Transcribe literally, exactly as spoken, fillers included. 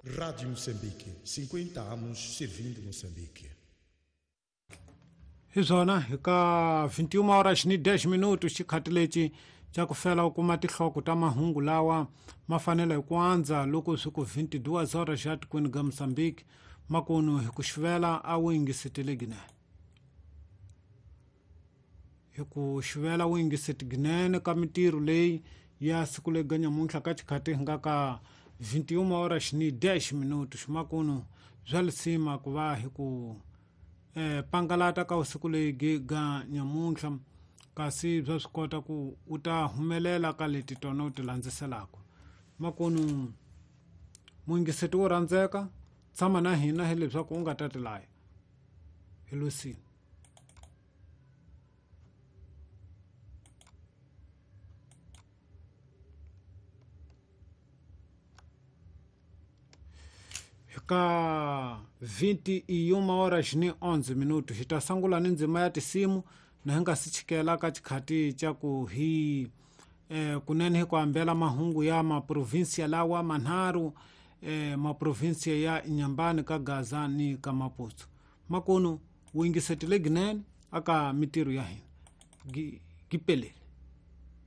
Rádio Moçambique, cinquenta anos servindo Moçambique. Hi swona hi ka vinte e uma horas ni dez minutos xikhathi lexi xa ku fela u kuma tinhloko ta mahungu lawa ma fanele hi ku andza loko swi ku vinte e duas horas ya tikweni ga Moçambique makunu hi ku xivela a wu yingisetele ginene hi ku xivela wu yingiseti ginene ka mintirho leyi ya siku lega nyamuntlha ka xikhathi hi nga ka vinte e uma horas ni dez minutos makunu bya lisima ku va hi ku eh, pangalata ka usiku leyi ga nyamuntlha kasi bya swi kota ku u ta humelela ka leti tona u ti landziselaka makunu muyingiseti wo rhandzeka tshama na hina hi leswaku u nga ta tilaya hi losini. Ka vinte e uma horas ni onze minutos hi ta sungula ni ndzima ya tinsimu na hi nga si chikela ka xikhati xa ku hi eh, kunene hi ku hambela mahungu ya maprovinsia lawa manharhu eh, maprovinsia ya Inhambane ka Gaza ni ka Maputo makunu wu yingisetile ginene aka mintirho ya hina gi, gi peleli.